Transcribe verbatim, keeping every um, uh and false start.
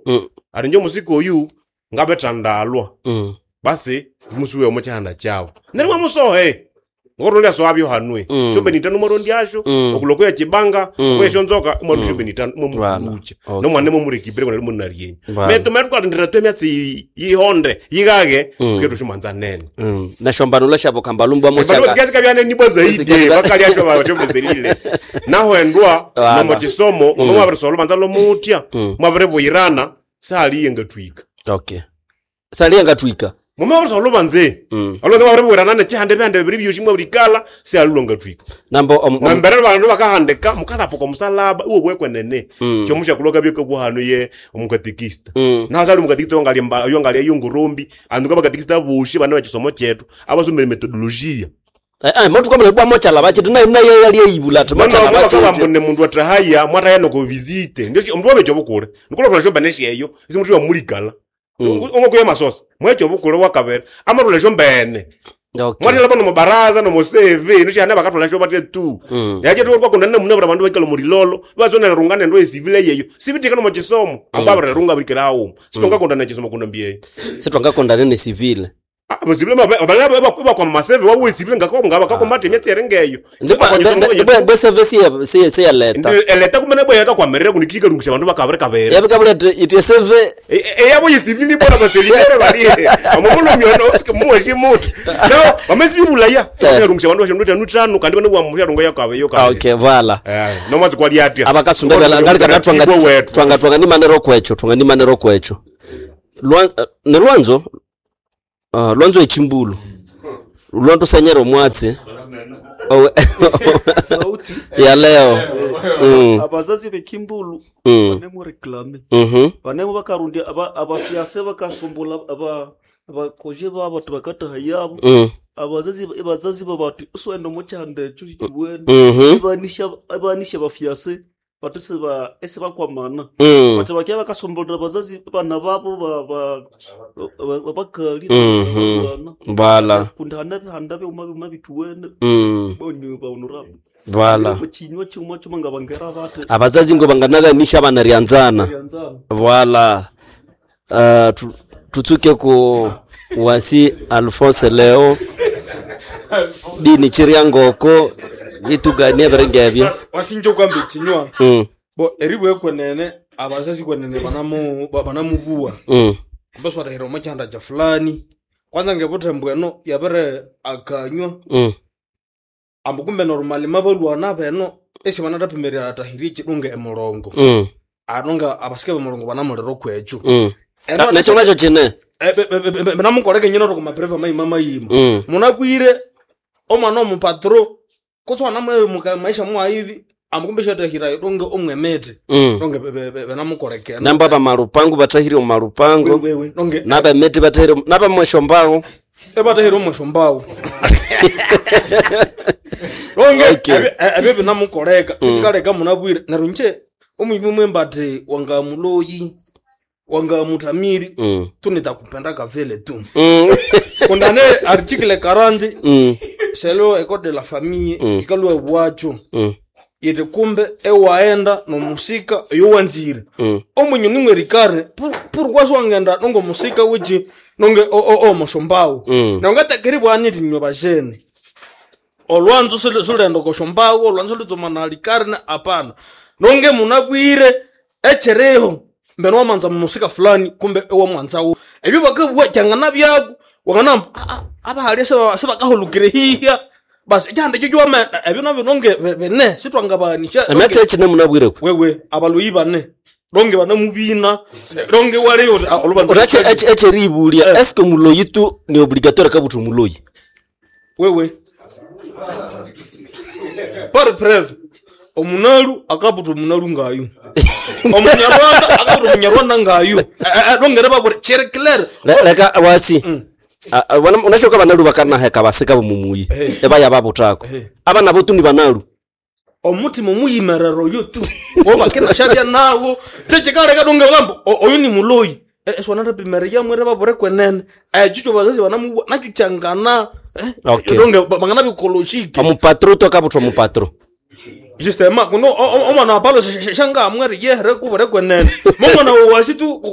Mm. Ati nje omusika oyu ngabithandalwa. Mm. Basi musuwe omo kyihanda kyawu. Neryo mwamusohe. Ngokulya soabyo hanwe. Mm. Shombeni itano mwarondyaasho, Mm. okuloko ya chibanga, Mm. okwesho nzoka, mwarondya shombeni itano Voilà. mwamulucha. Okay. Nomwana mwamurekipire kona munaryenyi. Voilà. Metu metu kalindira twemyatsi yihonde, yigage, Mm. ketu shumanza nene. Mm. Nashombanula shabo kambalumbu Bandu amoshaka. basikasika byaneni bwa zaidi, Basikasika- bakalya sho bachomezelile. Naho endwa Voilà. nomo chisomo, mm. mwabirisola banza lomutya, mwabiribuyirana, saliye ngatwika. Okay. Saliye ngatwika. Mumabirisola lubanze. Mm. Olwanze mwabiribuyirana nechihande bihande bibiri byoshi mwabirikala, sialulwa ngatwika. Nambo om, om, Nambere bandu bakahandika mukalapa kwa musalaba uwo bwekwenene. Mm. Kyomusha kuloka byeka bwahano ye omukatekista. Mm. Naho sali omukatekista wangali mba yongali yongurumbi, andu kabakatekista bushi bana bachisomo chetu, abasomere methodologia. Eh eh motu kwambe bwa mochala bachi na na ye yali eyibula tu mochala bachi. Mwana ne mundu atahaya mwataya noko visite. Ndio omuntu wabecho bukule. Nikola flasho baneshi eyo, isi muntu wamulikala. Ongo kuya masosa. Mwecho bukule wakabera. Amarula shombene. Okay. Mwatela bano mubaraza no museve, nisho hana bakatula sho bate tu. Mm. Yaje tu kwa kunana muna bandu bakala murilolo, bazona rungane ndo esivile yeyo. Sibitika no muchisomo, amba runga bikirawo. Sitonga kondana chisomo kuno mbiye. Sitwanga nene civil. Ah, bozibile mabala ba kwa maseve wawe civile ngakho ngaba kakombate emyatsi ngeyo. Ndipo bwe service ya se se ya leta. Eleta kumene bweka kwamerera kunikika lungisha bandu bakabere kabere. Yabikabula iti seve Eyabo yisivili bora baselilere bali. Amukulu myono osike muwe chimutu. No, bamesibulaya. Tukarungisha bandu basho ndutano tano kandi bano bwa rungo yakabe yo kabe. Okay, voilà. Eh, nomazi kwali atya. Abakasumba bala ngalika twanga twanga twanga ni manero kwecho, twanga ni manero kwecho. Lwa ne lwanzo uh, lwanzo echimbulu. Lwanto senyero mwatsi. Owe- Sauti ya leo. Mm. abazazi bekimbulu Mm. banemu reklame Mhm. banemu bakarundia aba- abafiase bakasumbula aba abakoje babo tibakataha yabo Mm. abazazi abazazi babati uswenda omukyanda ekyo kiwene Mhm. ibanisha ibanisha abafiase bati siba esibakwamana Mm. bati bakia bakasumbulira abazazi bana babo ba- ba- ba- babakali Mhm. bana Voilà. kundi hana bihanda byuma byuma bituwene Mm. bonyu baunura Voilà. chinywa chuma chuma nga bangera bate Abazazi ngo banganaganisha abana ryanzana. ryanzana Voilà. Uh, tu, tutsuke ku wasi Alphonse Leo dini chiryangoko vituganie biringebyo. Wasinje kwamba ichinywa Mm. bo eribwe kwenene abazazi kwenene banamu ba- banamubuwa Mm. mbaswarahira omukyanda kya fulani kwanza ngebuthembu eno yabere akanywa Mm. ambu kumbe normali mabalwana beno esi banathapimirira atahirie ekidunga emulongo Mm. anonga abasike bemulongo banamulira okwekyo Mm. Eno- Nakyo nakyo kine. Eh, be- be- be- be- banamukoleka enyina oti kumapereva mayima mayima Mm. munakwire omwana omupatro kutsi wanamwe maisha mwaivi ambu kumbe shatahira idunga omwemete Mm. donge benamukolekena Namba bamalupango batahire mu malupango. wewe donge Nabemeti batahire nabamweshombawo. ebatahira omweshombawo donge Okay. ebyo binamukoleka kikaleka munabwire neryo nje omwimi mwemba ati wangamuloyi wangamutamiri Mm. tunitakupenda kavile tu Mm. kundane article quarante Mm. selo ecole de la famille ikalwa bwacho Mm. iti kumbe ewaenda nomusika yowanzire Mm. omunyu nimwerikare pourquoi siwangenda nongo musika wichi nonge omoshombawo Mm. nongatekeri bwani iti nywe bajene olwanzo sulu- sulenda koshombawo olwanzo lutsomana likare na apana nonge munabwire echereho mbeno wamanza mumusika fulani kumbe ewamwanzawo ebyo bakabwa kyangana byaku wanganamba abahali sebakahulukire hiya basi ekyihanda ekyo kyowama ebyo nabyo nonge be- bene sitwangabanisha Emyatsi ekine munabwire ku. wewe abaloyi bane donge banamubina donge waleyo olubanza Urache echeribulia eske muloyi tu ni obligatoire kabutu muloyi. wewe par preuve omunalu akabuta omunalu ngayu omunyarwanda akabuta omunyarwanda ngayu dongere babure chere clair Le- Leka wasi. Ah, ah, wana- Unashoka banalu bakanaheka basika bumumuyi. Eh. Ebaya babutako. Eh. Abana botu ni banalu. omutima omuyimerero oyo tu wobakinashabya nawo techikaleka donge gambo oyu ni muloyi eswanatapimere yamwere babure kwenene ekyo bazazi banamuwa nakyo kyangana eh, Okay. donge banganabikolojike Omupatro tu akabutwa omupatro. Justement, kuno omwana wa Paulo shangamwere yehere kubure kwenene momwana wasi tu